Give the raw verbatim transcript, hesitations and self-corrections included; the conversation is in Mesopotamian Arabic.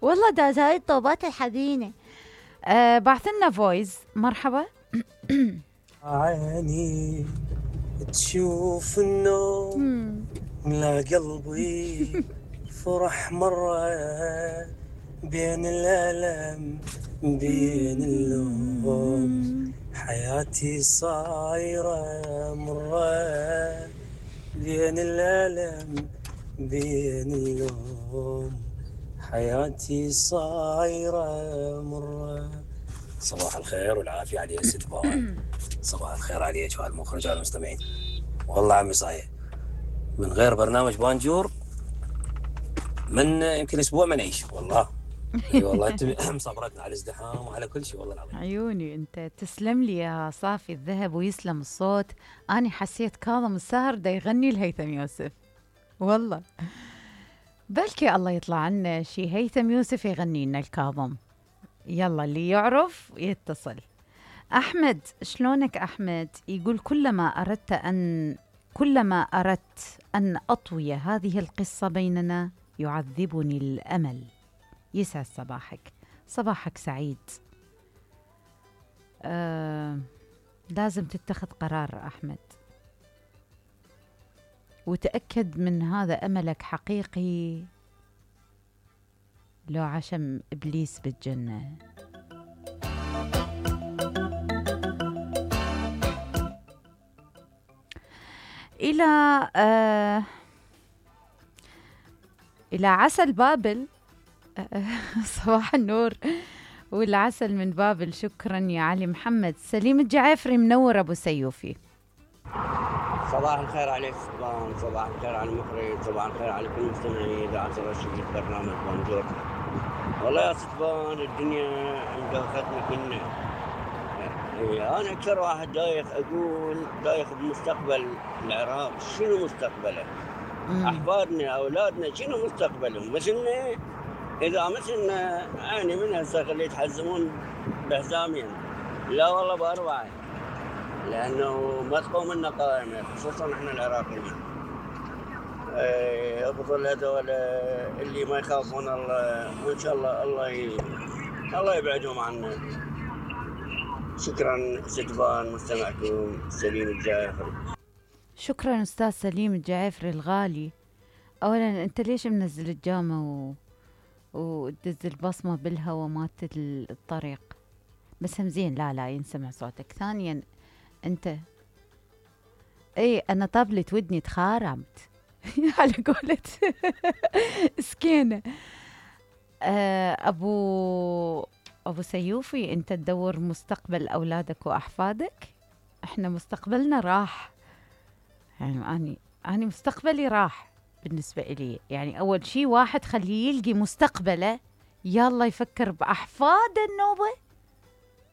والله داز هاي الطوبات الحزينة. آه بعث لنا فويس. مرحبا. عيني تشوف النوم ملا قلبي فرح مرة بين الألم بين اللوم حياتي صايرة مرة بين الألم بين اللوم حياتي صايرة مرة. صباح الخير والعافية على ست بوان. صباح الخير عليك وعلى المخرج وعلى المستمعين. والله عمي صحيح من غير برنامج بانجور من يمكن اسبوع ما نعيش والله. اي والله انت مصبرتنا على الازدحام وعلى كل شيء والله العظيم. عيوني انت تسلم لي يا صافي الذهب ويسلم الصوت. اني حسيت كاظم الساهر دا يغني لهيثم يوسف والله. بلكي الله يطلع عنا شي هيثم يوسف يغني لنا الكاظم. يلا اللي يعرف يتصل. أحمد شلونك أحمد؟ يقول كلما أردت أن كلما أردت أن أطوي هذه القصة بيننا يعذبني الأمل. يسعد صباحك. صباحك سعيد. آه لازم تتخذ قرار أحمد وتأكد من هذا أملك حقيقي لو عشم إبليس بالجنة. إلى آه إلى عسل بابل. آه صباح النور والعسل من بابل. شكرا يا علي محمد. سليم الجعافري منور أبو سيوفي. صباح الخير عليك سلطان. صباح الخير على المخرج. صباح الخير على كل مستمعي إذاعة الرشيد برنامج بانجور. والله يا سلطان الدنيا مدوختنا كلنا. يعني أنا أكثر واحد دايخ أقول دايخ بمستقبل العراق. شنو مستقبله؟ أحفادنا أولادنا شنو مستقبلهم؟ مثلنا إذا مثلنا يعني من هسه اللي يتحزمون بحزامين لا والله بأربعة لأنه ما تقوم لنا قائمة خصوصا إحنا العراقيين. أفضل هذول اللي ما يخافون الله وإن شاء الله الله ي... الله يبعدهم عنا. شكرا ستبان مستمعكم سليم الجعافري. شكرا أستاذ سليم الجعافري الغالي. أولا أنت ليش منزل الجامة و... وتدز البصمة بالهوا مالت الطريق؟ بس هم زين لا لا ينسمع صوتك. ثانيا أنت اي انا طبلت ودني تخارمت على قولة سكينة. ابو ابو سيوفي انت تدور مستقبل اولادك واحفادك. احنا مستقبلنا راح. يعني اني اني مستقبلي راح بالنسبة إلي. يعني اول شيء واحد خليه يلقي مستقبله يلا يفكر باحفاد النوبة